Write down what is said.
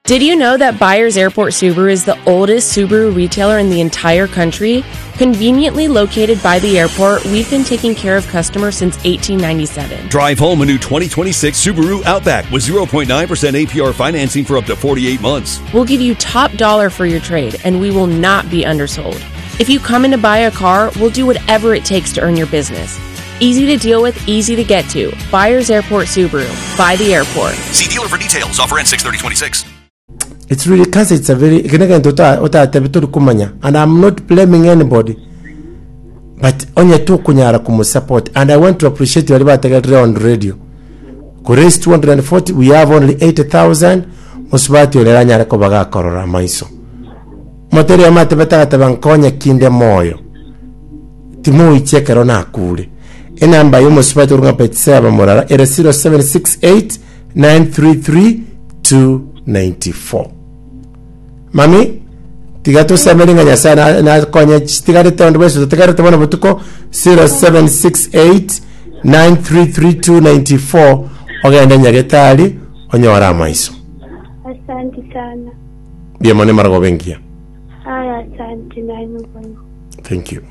Did you know that Byers Airport Subaru is the oldest Subaru retailer in the entire country? Conveniently located by the airport, we've been taking care of customers since 1897. Drive home a new 2026 Subaru Outback with 0.9% APR financing for up to 48 months. We'll give you top dollar for your trade, and we will not be undersold. If you come in to buy a car, we'll do whatever it takes to earn your business. Easy to deal with, easy to get to. Byers Airport Subaru. By the airport. See dealer for details. Offer ends 63026. It's really cancer it's a very eke negento ota- otatebe tori komanya and I'm not blaming anybody but onye tokonyara komosupport and I want to appreciate baria bategerire on radio ko raise 240 we have only 80000 mosubati oria aranyare koba gakorora amaiso moteria amatebe tagateba nkonye kinde moyo timoichia ekero nakure enamba ya omosubati orwa ng'a Betseba morara ere 0768 933 294 Mami, tiga tosemeri ng'a Nyasae na- nakonye chitigarete onde bwensi totigarete bono botuko 0768 933 ogende nyagetari onyore amaiso Asante sana. mbuya mono emarogoba engiya Aya, asante nainwe boigo. thank you.